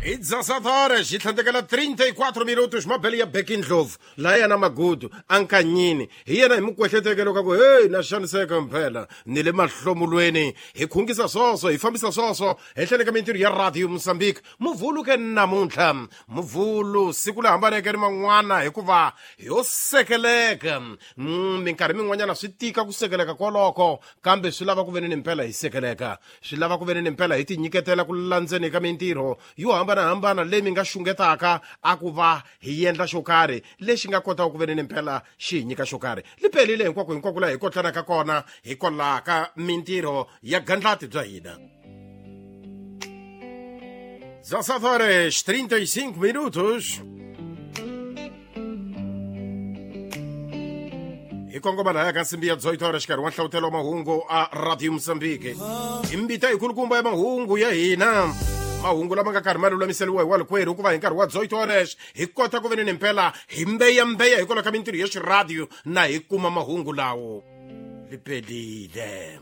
I 17 horas yi tlhandlekela 34 minutos. Mabele ya Beki Ndlovu laha yena magudu ankanyini hi yena hi mukwehleteke loko a ku heyi na xaniseka mphela ni le mahlomulweni. Hi khungisa swoswo, hi fambisa swoswo henhleni ka mintirho ya Radio Mozambique. Muvhulu ke namuntlha, Muvhulu siku le hambaneke ni man'wana hikuva yo sekeleka. Minkarhi min'wanyana swi tika ku sekeleka koloko, kambe swi lava ku ve ni mpela hi sekeleka, swi lava ku ve ni mpela hi tinyiketela ku landzeni ka mintirho yo hambanahambana leyi mi nga xungetaka a ku va hi endla xo karhi lexi nga kotaka ku ve ni mpela xi hi nyika xo karhi. Li pelile hinkwako hinkwako laha hi kotlanaka kona hikwalaho ka mintirho ya gandlati bya hina. 17 horas 35 minutos. Hi kongoma lahaya ka nsimbi ya 18 horas xikarhi wa nhlawutelo wa mahungu a Radio Mozambique. Hi mbita hi kulukumba ya mahungu ya hina, mahungu lama nga karhi ma lulamiseriwa hi walikwerhu, hikuva hi nkarhi wa 18 horas hi kota ku ve ni mpela hi mbeyambeya hikwalaho ka mintirho ya xiradio na hi kuma mahungu lawo. Lipelile.